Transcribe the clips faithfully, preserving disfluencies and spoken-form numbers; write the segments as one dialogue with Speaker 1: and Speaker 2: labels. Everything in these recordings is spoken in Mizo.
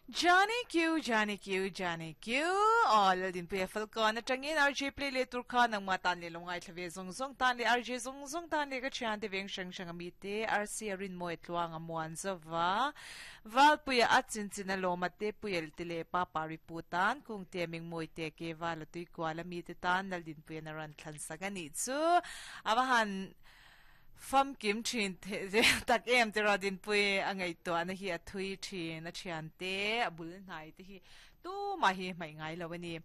Speaker 1: Johnny Q, Johnny Q, Johnny Q. Aw, Laldinpuia Falkawn atangin R J play leh tur kha nangmah tan leh lo ngaithla ve zawng zawng tan leh R J zawng zawng tan leh ka thian te veng hrang hrang ami te R C a rinmawi tluang a muan zova Valpuia a chinchin a lawma te puyel te leh pa pari pu tan kung te mingmawi te ke vala tui kual ami te tan Laldinpuia na ran thlan sak ani chu awahan fam kim thin the tak em te rodin pui angai to ana hi a thui thin a thian te a bul hnai te hi tu ma hi mai ngai lo ani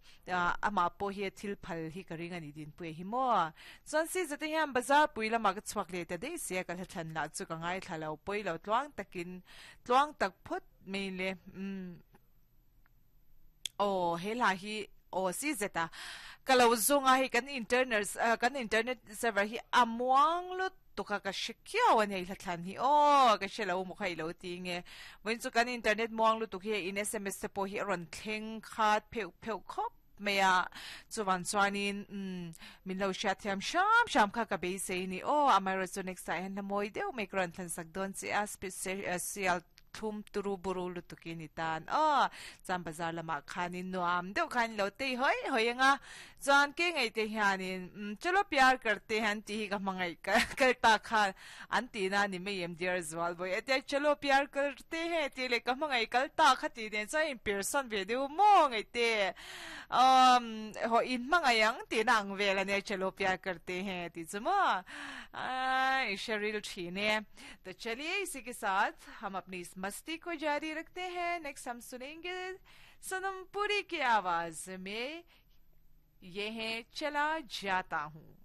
Speaker 1: ama po hi thil phal hi ka ring ani din pui hi mo chuan si zate hian bazar pui lama ka chuak le ta dei sia ka thlan la chu ka ngai thla lo poi lo tluang takin tluang tak phut mai le um oh he la hi o si zeta kalau zunga hi kan internet kan internet server hi amuang lut tuka ka shikiaw an hei hlatlan hi o ka shelo mu khai lo ti nge voin chu kan internet muang lu tuk hi in S M S te po hi ron thleng khat pheu pheu khop meya chuwan chuanin um min lo sha thiam sham sham kha ka be sei ni o amaro chu next time na moi deuh me kron thlan sak don chi a special thum turu buru lutukin ni tan o cham bazar lama khanin nuam deuh khan lo te hoi hoi anga chuan ke ngai te hianin chalo pyar karte han ti hi ka mangai ka kalta kha an ti na ni me em dear zwal boy ate chalo pyar karte he ti le ka mangai kalta kha ti den cha in person ve deu mo ngai te um ho in mangai ang ti nang ve la ne chalo pyar karte he ti chuma ai शरीर छीने। तो चलिए, इसी के साथ हम अपनी इस मस्ती को जारी रखते हैं। नेक्स्ट हम सुनेंगे सनम पुरी की आवाज में ये है चला जाता हूँ।